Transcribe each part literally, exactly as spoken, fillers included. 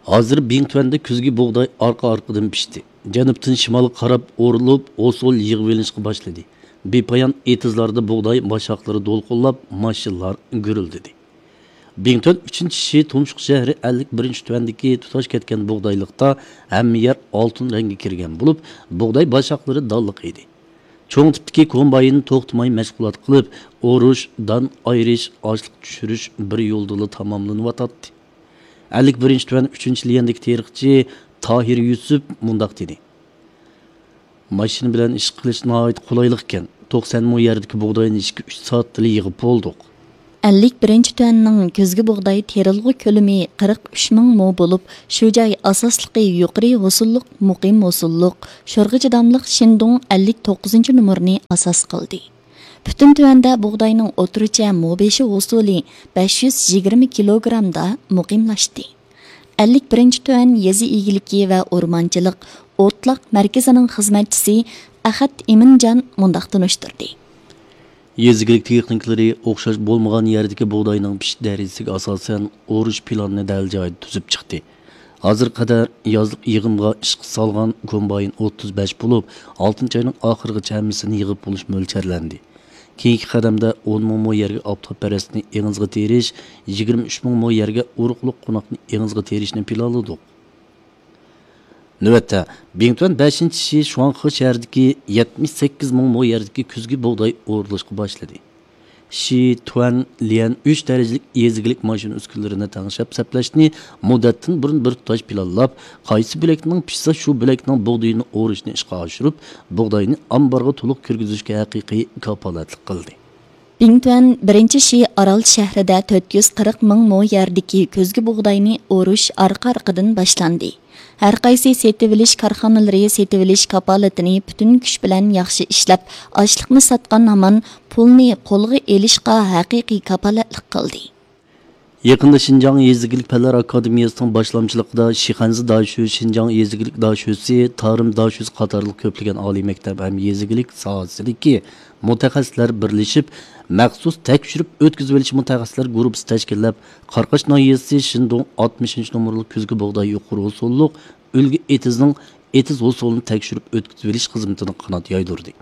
ھازىر بىڭتۈەندە كۈزگى بۇغداي ئارقا-ئارقىدىن پىشتى. جەنۇبتىن شىمالغا قاراپ ئورۇلۇپ، ھوسۇل يىغىۋېلىنىشقا باشلىدى. بىپايان ئېتىزلاردا بۇغداي باشاقلىرى دولقۇنلاپ، ماشىنىلار گۈرۈلدىدى. بىڭتۈەن ئۈچىنچى شى تۇمشۇق شەھىرى ئەللىك بىرىنچى تۈەندىكى تۇتاش كەتكەن بۇغدايلىقتا ھەممە يەر ئالتۇن رەڭگە كىرگەن بولۇپ، بۇغداي باشاقلىرى دانلىق ئىدى. چوڭ تىپتىكى كومباين توختىماي مەشغۇلات قىلىپ، ئورۇش، دان ئايرىش، ئاشلىق چۈشۈرۈش بىر يولدىلا تاماملىنىۋاتاتتى. ئەللىك بىرىنچى تۈەن ئۈچىنچى ليەندىكى تېرىقچى تاھىر يۈسۈپ مۇنداق دېدى: ماشىنا بىلەن ئىش قىلىش ناھايىتى قولايلىق ئىكەن. توقسەن مو يەردىكى بۇغداينى ئىككى، ئۈچ سائەتتىلا يىغىپ بولدۇق. ئەللىك بىرىنچى تۈەننىڭ كۈزگى بۇغداي تېرىلغۇ كۆلىمى قىرىق ئۈچ مىڭ مو بولۇپ، شۇ جاي ئاساسلىقى يۇقىرى ھوسۇللۇق، مۇقىم ھوسۇللۇق، شورغا چىداملىق شىندۇڭ ئەللىك توققۇزىنچى نومۇرنى ئاساس قىلدى. پۈتۈن تۈەندە بۇغداينىڭ ئوتتۇرىچە مو بېشى ھوسۇلى بەش يۈز يىگىرمە كىلوگرامدا مۇقىملاشتى. ئەللىك بىرىنچى تۈەن يېزا ئىگىلىكى ۋە ئورمانچىلىق ئوتلاق مەركىزىنىڭ خىزمەتچىسى ئەخەت ئىمىنجان مۇنداق تونۇشتۇردى. يېزا ئىگىلىك تېخنىكلىرى ئوخشاش بولمىغان يەردىكى بۇغداينىڭ پىشىش دەرىجىسىگە ئاساسەن، ئورۇش پىلانىنى دەل جايىدا تۈزۈپ چىقتى. ھازىرغا قەدەر يازلىق يىغىمغا ئىشقا سالغان كومباين ئوتتۇز بەش بولۇپ، ئالتىنچى ئاينىڭ ئاخىرىغىچە ھەممىسىنى يىغىپ بولۇش مۆلچەرلەندى. كېيىنكى قەدەمدە ئون مىڭ مو يەرگە ئاپتاپپەرەسنى ئېڭىزغا تېرىش، يىگىرمە ئۈچ مىڭ مو يەرگە ئۇرۇقلۇق قوناقنى ئېڭىزغا تېرىشنى پىلانلىدۇق. نۆۋەتتە، بىڭتۈەن بەشىنچى شى شۇاڭخې شەھىرىدىكى يەتمىش سەككىز مىڭ مو يەردىكى كۈزگى بۇغداي ئورۇلۇشقا باشلىدى. شى تۈەن ليەن ئۈچ دەرىجىلىك يېزا ئىگىلىك ماشىنا ئۈسكۈنىلىرىنى تەڭشەپ سەپلەشنى مۇددەتتىن بۇرۇن بىر تۇتاش پىلانلاپ، قايسى بۆلەكنىڭ پىشسا، شۇ بۆلەكنىڭ بۇغدىيىنى ئورۇشنى ئىشقا ئاشۇرۇپ، بۇغداينى ئامبارغا تولۇق كىرگۈزۈشكە ھەقىقىي كاپالەتلىك قىلدى. بىڭتۈەن بىرىنچى شى ئارال شەھىرىدە تۆت يۈز قىرىق مىڭ مو يەردىكى كۈزگى بۇغداينى ئورۇش ئارقا-ئارقىدىن باشلاندى. ھەرقايسى سېتىۋېلىش كارخانىلىرى سېتىۋېلىش كاپالىتىنى پۈتۈن كۈچ بىلەن ياخشى ئىشلەپ، ئاشلىقنى ساتقان ھامان پۇلنى قولغا ئېلىشقا ھەقىقىي كاپالەتلىك قىلدى. يېقىندا شىنجاڭ يېزا ئىگىلىك پەنلەر ئاكادېمىيەسىنىڭ باشلامچىلىقىدا شىخەنزە داشۆ، شىنجاڭ يېزا ئىگىلىك داشۆسى، تارىم داشۆسى قاتارلىق كۆپلىگەن ئالىي مەكتەپ ھەم يېزا ئىگىلىك ساھەسىدىكى مۇتەخەسسىسلەر بىرلىشىپ، مەخسۇس تەكشۈرۈپ ئۆتكۈزۈۋېلىش مۇتەخەسسىسلەر گۇرۇپپىسى تەشكىللەپ، قاراقاش ناھىيەسى شىندۇڭ ئاتمىشىنچى نومۇرلۇق كۈزگى بۇغداي يۇقىرى ھوسۇللۇق ئۈلگە ئېتىزنىڭ ئېتىز ھوسۇلىنى تەكشۈرۈپ ئۆتكۈزۈۋېلىش خىزمىتىنى قانات يايدۇردى.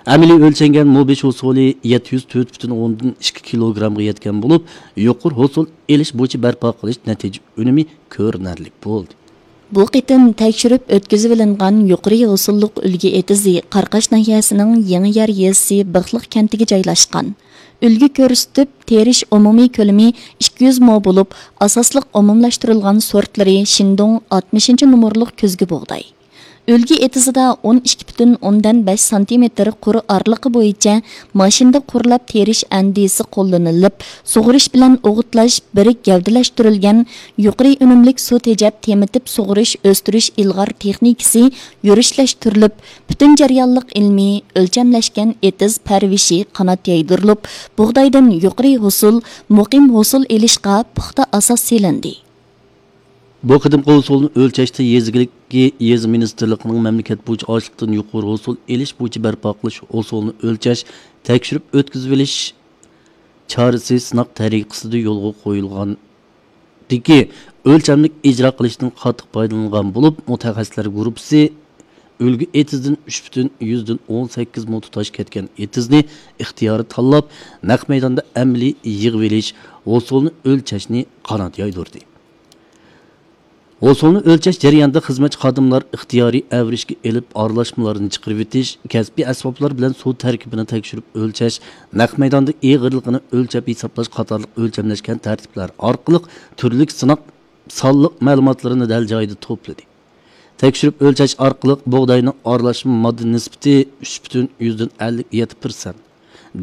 ئەمەلىي ئۆلچەنگەن مو بېشى ھوسۇلى يەتتە يۈز تۆت پۈتۈن ئوندىن ئىككى كىلوگرامغا يەتكەن بولۇپ، يۇقىرى ھوسۇل ئېلىش بويىچە بەرپا قىلىش نەتىجە ئۈنۈمى كۆرۈنەرلىك بولدى. بۇ قېتىم تەكشۈرۈپ ئۆتكۈزۈۋېلىنغان يۇقىرى ھوسۇللۇق ئۈلگە ئېتىزى قاراقاش ناھىيەسىنىڭ يېڭىيار يېزىسى بىخلىق كەنتىگە جايلاشقان. ئۈلگە كۆرسىتىپ تېرىش ئومۇمىي كۆلىمى ئىككى يۈز مو بولۇپ، ئاساسلىق ئومۇملاشتۇرۇلغان سورتلىرى شىندۇڭ ئاتمىشىنچى نومۇرلۇق كۈزگى بۇغداي. ئۈلگە ئېتىزىدا ئون ئىككى پۈتۈن ئوندىن بەش سانتىمېتىر قۇر ئارىلىقى بويىچە ماشىنىدا قۇرلاپ تېرىش ئەندىزىسى قوللىنىلىپ، سۇغىرىش بىلەن ئوغۇتلاش بىر گەۋدىلەشتۈرۈلگەن يۇقىرى ئۈنۈملۈك سۇ تېجەپ تېمىتىپ سۇغىرىش ئۆستۈرۈش ئىلغار تېخنىكىسى يۈرۈشلەشتۈرۈلۈپ، پۈتۈن جەريانلىق ئىلمىي ئۆلچەملەشكەن ئېتىز پەرۋىشى قانات يايدۇرۇلۇپ، بۇغدايدىن يۇقىرى ھوسۇل، مۇقىم ھوسۇل ئېلىشقا پۇختا ئاساس سېلىندى. بۇ قېتىمقى ھوسۇلنى ئۆلچەشتە يېزا ئىگىلىكى، يېزا مىنىستىرلىقىنىڭ مەملىكەت بويىچە ئاشلىقتىن يۇقىرى ھوسۇل ئېلىش بويىچە بەرپا قىلىش ھوسۇلنى ئۆلچەش، تەكشۈرۈپ ئۆتكۈزۈۋېلىش چارىسى سىناق تەرىقىسىدە يولغا قويۇلغاندىكى ئۆلچەملىك ئىجرا قىلىشتىن قاتتىق پايدىلانغان بولۇپ، مۇتەخەسسىسلەر گۇرۇپپىسى ئۈلگە ئېتىزدىن ئۈچ پۈتۈن يۈزدىن ئون سەككىز مو تۇتاش كەتكەن ئېتىزنى ئىختىيارىي تاللاپ، نەق مەيداندا ئەمەلىي يىغىۋېلىش، ھوسۇلنى ئۆلچەشنى قانات يايدۇردى. ھوسۇلنى ئۆلچەش جەريانىدا خىزمەتچى خادىملار ئىختىيارىي ئەۋرىشكە ئېلىپ، ئارىلاشمىلارنى چىقىرىۋېتىش، كەسپىي ئەسۋابلار بىلەن سۇ تەركىبىنى تەكشۈرۈپ ئۆلچەش، نەق مەيداندا ئېغىرلىقىنى ئۆلچەپ ھېسابلاش قاتارلىق ئۆلچەملەشكەن تەرتىپلەر ئارقىلىق تۈرلۈك سىناق سانلىق مەلۇماتلىرىنى دەل جايىدا توپلىدى. تەكشۈرۈپ ئۆلچەش ئارقىلىق بۇغداينىڭ ئارىلاشما ماددا نىسبىتى ئۈچ پۈتۈن يۈزدىن ئەللىك يەتتە پىرسەنت،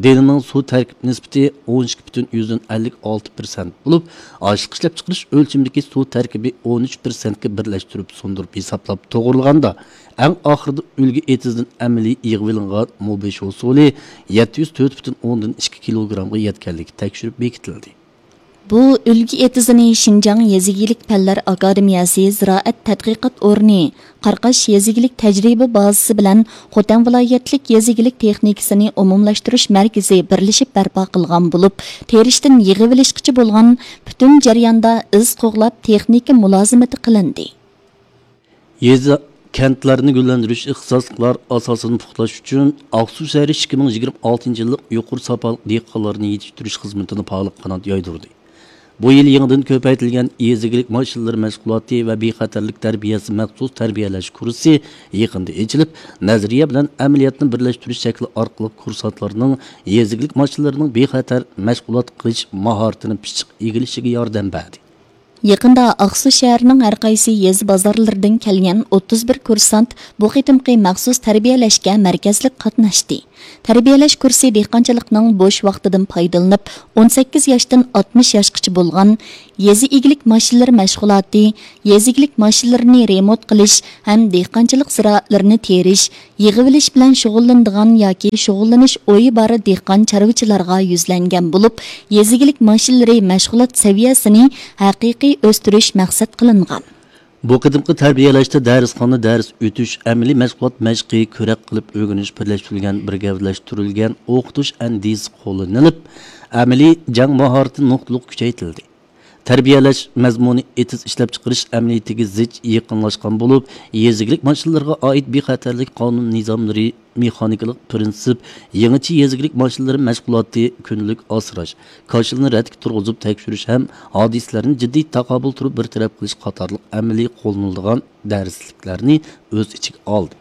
دېنىنىڭ سۇ تەركىب نىسبىتى ئون ئىككى پۈتۈن يۈزدىن ئەللىك ئالتە پىرسەنت بولۇپ، ئاشلىق ئىشلەپچىقىرىش ئۆلچىمىدىكى سۇ تەركىبى ئون ئۈچ پىرسەنتكە بىرلەشتۈرۈپ سۇندۇرۇپ ھېسابلاپ توغرىلىغاندا، ئەڭ ئاخىرىدا ئۈلگە ئېتىزدىن ئەمەلىي يىغىۋېلىنغان مو بېشى ھوسۇلى يەتتە يۈز تۆت پۈتۈن ئوندىن ئىككى كىلوگرامغا يەتكەنلىكى تەكشۈرۈپ بېكىتىلدى. بۇ ئۈلگە ئېتىزىنى شىنجاڭ يېزا ئىگىلىك پەنلەر ئاكادېمىيەسى زىرائەت تەتقىقات ئورنى، قاراقاش يېزا ئىگىلىك تەجرىبە بازىسى بىلەن خوتەن ۋىلايەتلىك يېزا ئىگىلىك تېخنىكىسىنى ئومۇملاشتۇرۇش مەركىزى بىرلىشىپ بەرپا قىلغان بولۇپ، تېرىشتىن يىغىۋېلىشقىچە بولغان پۈتۈن جەرياندا ئىز قوغلاپ تېخنىكا مۇلازىمىتى قىلىندى. يېزا، كەنتلەرنى گۈللەندۈرۈش ئىختىساسلىقلار ئاساسىنى پۇختىلاش ئۈچۈن، ئاقسۇ شەھىرى ئىككى مىڭ يىگىرمە ئالتىنچى يىللىق يۇقىرى ساپالىق دېھقانلارنى يېتىشتۈرۈش خىزمىتىنى پائال قانات يايدۇردى. بۇ يىل يېڭىدىن كۆپەيتىلگەن يېزا ئىگىلىك ماشىنىلىرى مەشغۇلاتى ۋە بىخەتەرلىك تەربىيەسى مەخسۇس تەربىيەلەش كۇرسى يېقىندا ئېچىلىپ، نەزەرىيە بىلەن ئەمەلىيەتنى بىرلەشتۈرۈش شەكلى ئارقىلىق كۇرسانتلارنىڭ يېزا ئىگىلىك ماشىنىلىرىنىڭ بىخەتەر مەشغۇلات قىلىش ماھارىتىنى پىششىق ئىگىلىشىگە ياردەم بەردى. يېقىندا ئاقسۇ شەھىرىنىڭ ھەر قايسى يېزا بازارلىرىدىن كەلگەن ئوتتۇز بىر كۇرسانت بۇ قېتىمقى مەخسۇس تەربىيەلەشكە مەركەزلىك قاتناشتى. تەربىيەلەش كۇرسى دېھقانچىلىقنىڭ بوش ۋاقتىدىن پايدىلىنىپ، ئون سەككىز ياشتىن ئاتمىش ياشقىچە بولغان يېزا ئىگىلىك ماشىنىلىرى مەشغۇلاتى، يېزا ئىگىلىك ماشىنىلىرىنى رېمونت قىلىش ھەم دېھقانچىلىق زىرائەتلىرىنى تېرىش، يىغىۋېلىش بىلەن شۇغۇللىنىدىغان ياكى شۇغۇللىنىش ئويى بار دېھقان چارۋىچىلارغا يۈزلەنگەن بولۇپ، يېزا ئىگىلىك ماشىنىلىرى مەشغۇلات سەۋىيەسىنى ھەقىقىي ئۆستۈرۈش مەقسەت قىلىنغان. بۇ قېتىمقى تەربىيەلەشتە دەرسخانا دەرس ئۆتۈش، ئەمەلىي مەشغۇلات مەشقى، كۆرەك قىلىپ ئۆگىنىش بىرلەشتۈرۈلگەن، بىر گەۋدىلەشتۈرۈلگەن ئوقۇتۇش ئەندىزىسى قوللىنىلىپ، ئەمەلىي جەڭ ماھارىتى نۇقتىلىق كۈچەيتىلدى. تەربىيەلەش مەزمۇنى ئېتىز ئىشلەپچىقىرىش ئەمەلىيىتىگە زىچ يېقىنلاشقان بولۇپ، يېزا ئىگىلىك ماشىنىلىرىغا ئائىت بىخەتەرلىك قانۇن نىزاملىرى، مېخانىكىلىق پىرىنسىپ، يېڭىچە يېزا ئىگىلىك ماشىنىلىرى مەشغۇلاتى، كۈندىلىك ئاسراش، كاشىلىنى رەتكە تۇرغۇزۇپ تەكشۈرۈش ھەم ھادىسىلەرنى جىددىي تاقابىل تۇرۇپ بىر تەرەپ قىلىش قاتارلىق ئەمەلىي قوللىنىلىدىغان دەرسلىكلەرنى ئۆز ئىچىگە ئالدى.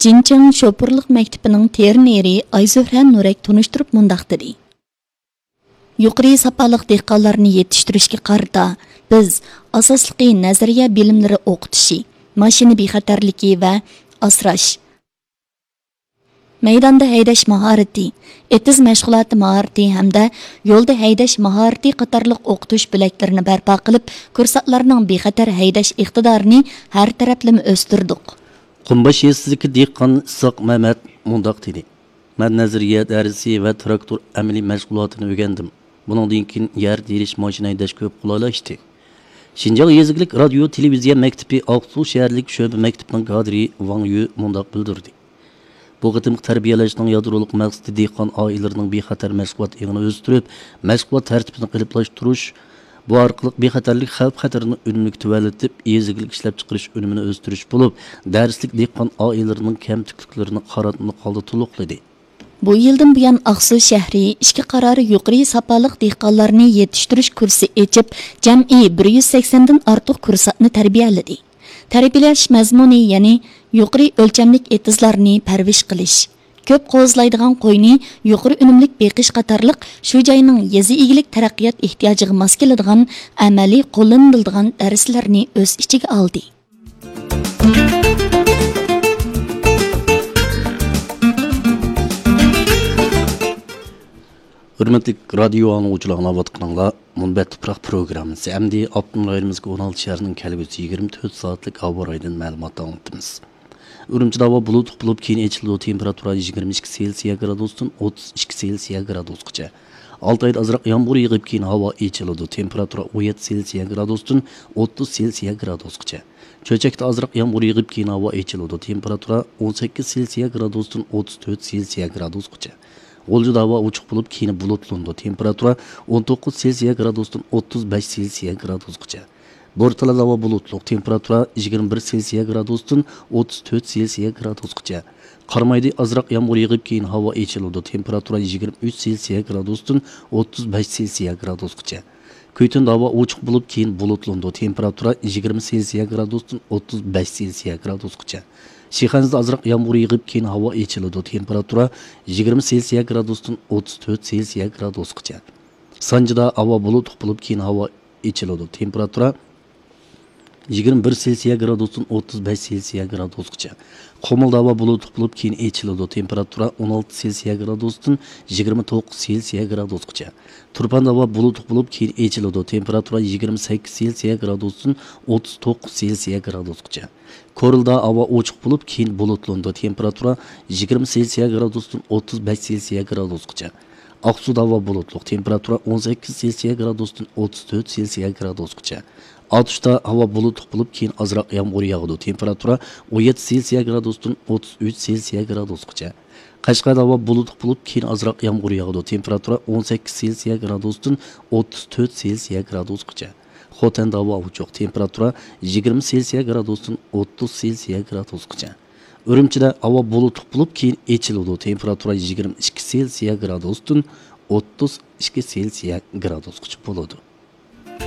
جىنچىڭ شوپۇرلۇق مەكتىپىنىڭ ترېنېرى ئايزۆھرە نۇرەك تونۇشتۇرۇپ مۇنداق دېدى. يۇقىرى ساپالىق دېھقانلارنى يېتىشتۈرۈشكە قارىتا، بىز ئاساسلىقى نەزەرىيە بىلىملىرى ئوقۇتۇشى، ماشىنا بىخەتەرلىكى ۋە ئاسراش، مەيداندا ھەيدەش ماھارىتى، ئېتىز مەشغۇلاتى ماھارىتى ھەمدە يولدا ھەيدەش ماھارىتى قاتارلىق ئوقۇتۇش بۆلەكلىرىنى بەرپا قىلىپ، كۇرسانتلارنىڭ بىخەتەر ھەيدەش ئىقتىدارىنى ھەر تەرەپلىمە ئۆستۈردۇق. قۇمباش يېزىسىدىكى دېھقان ئىسھاق مەمەت مۇنداق دېدى. مەن نەزەرىيە دەرسى ۋە تىراكتور ئەمەلىي مەشغۇلاتىنى ئۆگەندىم. بۇنىڭدىن كېيىن يەر تېرىش، ماشىنا ھەيدەش كۆپ قولايلاشتى. شىنجاڭ يېزا ئىگىلىك رادىيو تېلېۋىزىيە مەكتىپى ئاقسۇ شەھەرلىك شۆبە مەكتىپىنىڭ كادىرى ۋاڭ يۈ مۇنداق بىلدۈردى. بۇ قېتىمقى تەربىيەلەشنىڭ يادرولۇق مەقسىتى دېھقان ئائىلىلىرىنىڭ بىخەتەر مەشغۇلات ئېڭىنى ئۆستۈرۈپ، مەشغۇلات تەرتىپىنى قېلىپلاشتۇرۇش، بۇ ئارقىلىق بىخەتەرلىك خەۋپ-خەتىرىنى ئۈنۈملۈك تۆۋەنلىتىپ، يېزا ئىگىلىك ئىشلەپچىقىرىش ئۈنۈمىنى ئۆستۈرۈش بولۇپ، دەرسلىك دېھقان ئائىلىلىرىنىڭ كەمتۈكلۈكلىرىنى قاراتمىلىق ھالدا تولۇقلىدى. بۇ يىلدىن بۇيان، ئاقسۇ شەھىرى ئىككى قارار يۇقىرى ساپالىق دېھقانلارنى يېتىشتۈرۈش كۇرسى ئېچىپ، جەمئىي بىر يۈز سەكسەندىن ئارتۇق كۇرسانتنى تەربىيەلىدى. تەربىيەلەش مەزمۇنى، يەنى يۇقىرى ئۆلچەملىك ئېتىزلارنى پەرۋىش قىلىش، كۆپ قوزىلايدىغان قوينى يۇقىرى ئۈنۈملۈك بېقىش قاتارلىق شۇ جاينىڭ يېزا ئىگىلىك تەرەققىيات ئېھتىياجىغا ماس كېلىدىغان ئەمەلىي قوللىنىلىدىغان دەرسلەرنى ئۆز ئىچىگە ئالدى. ھۆرمەتلىك رادىيو ئاڭلىغۇچىلار، ئاڭلاۋاتقىنىڭلار مۇنبەت تۇپراق پروگراممىسى. ئەمدى ئاپتونوم رايونىمىزغا ئون ئالتە شەھەرنىڭ كەلگۈسى يىگىرمە تۆت سائەتلىك ھاۋا رايىدىن مەلۇمات ئاڭلىتىمىز. ئۈرۈمچىدە ھاۋا بۇلۇتلۇق بولۇپ، كېيىن ئېچىلىدۇ. تېمپېراتۇرا يىگىرمە ئىككى سېلسىيە گرادۇستىن ئوتتۇز ئىككى سېلسىيە گرادۇسقىچە. ئالتايدا ئازراق يامغۇر يېغىپ، كېيىن ھاۋا ئېچىلىدۇ. تېمپېراتۇرا ئون يەتتە سېلسىيە گرادۇستىن ئوتتۇز سېلسىيە گرادۇسقىچە. چۆچەكتە ئازراق يامغۇر يېغىپ، كېيىن ھاۋا ئېچىلىدۇ. تېمپېراتۇرا ئون سەككىز سېلسىيە گرادۇستىن ئوتتۇز تۆت سېلسىيە گرادۇسقىچە. غۇلجىدا ھاۋا ئوچۇق بولۇپ، كېيىن بۇلۇتلىنىدۇ. تېمپېراتۇرا ئون توققۇز سېلسىيە گرادۇستىن ئوتتۇز بەش سېلسىيە گرادۇسقىچە. بورتالادا ھاۋا بۇلۇتلۇق، تېمپېراتۇرا يىگىرمە بىر سېلسىيە گرادۇستىن ئوتتۇز تۆت سېلسىيە گرادۇسقىچە. قارامايدا ئازراق يامغۇر يېغىپ، كېيىن ھاۋا ئېچىلىدۇ. تېمپېراتۇرا يىگىرمە ئۈچ سېلسىيە گرادۇستىن ئوتتۇز بەش سېلسىيە گرادۇسقىچە. كۈيتۇندا ھاۋا ئوچۇق بولۇپ، كېيىن بۇلۇتلىنىدۇ. تېمپېراتۇرا يىگىرمە سېلسىيە گرادۇستىن ئوتتۇز بەش سېلسىيە گرادۇسقىچە. شىخەنزىدە ئازراق يامغۇر يېغىپ، كېيىن ھاۋا ئېچىلىدۇ. تېمپېراتۇرا يىگىرمە سېلسىيە گرادۇستىن ئوتتۇز تۆت سېلسىيە گرادۇسقىچە. سانجىدا ھاۋا بۇلۇتلۇق بولۇپ، كېيىن ھاۋا ئېچىلىدۇ. تېمپېراتۇرا يىگىرمە بىر سېلسىيە گرادۇستىن ئوتتۇز بەش سېلسىيە گرادۇسقىچە. قۇمۇلدا ھاۋا بۇلۇتلۇق بولۇپ، كېيىن ئېچىلىدۇ. تېمپېراتۇرا ئون ئالتە سېلسىيە گرادۇستىن يىگىرمە توققۇز سېلسىيە گرادۇسقىچە. تۇرپاندا ھاۋا بۇلۇتلۇق بولۇپ، كېيىن ئېچىلىدۇ. تېمپېراتۇرا يىگىرمە سەككىز سېلسىيە گرادۇستىن ئوتتۇز توققۇز سېلسىيە گرادۇسقىچە. كورلىدا ھاۋا ئوچۇق بولۇپ، كېيىن بۇلۇتلىنىدۇ. تېمپېراتۇرا يىگىرمە سېلسىيە گرادۇستىن ئوتتۇز بەش سېلسىيە گرادۇسقىچە. ئاقسۇدا ھاۋا بۇلۇتلۇق، تېمپېراتۇرا ئون سەككىز سېلسىيە گرادۇستىن ئوتتۇز تۆت سېلسىيە گرادۇسقىچە. ئاتۇشتا ھاۋا بۇلۇتلۇق بولۇپ، كېيىن ئازراق يامغۇر ياغىدۇ، تېمپېراتۇرا ئون يەتتە سېلسىيە گرادۇستىن ئوتتۇز ئۈچ سېلسىيە گرادۇسقىچە. قەشقەردە ھاۋا بۇلۇتلۇق بولۇپ، كېيىن ئازراق يامغۇر ياغىدۇ، تېمپېراتۇرا ئون سەككىز سېلسىيە گرادۇستىن ئوتتۇز تۆت سېلسىيە گرادۇسقىچە. خوتەندە ھاۋا ئوچۇق، تېمپېراتۇرا يىگىرمە سېلسىيە گرادۇستىن ئوتتۇز سېلسىيە گرادۇسقىچە. ئۈرۈمچىدە ھاۋا بۇلۇتلۇق بولۇپ، كېيىن ئېچىلىدۇ، تېمپېراتۇرا يىگىرمە ئىككى سېلسىيە گرادۇستىن ئوتتۇز ئىككى سېلسىيە گرادۇسقىچە بولىدۇ.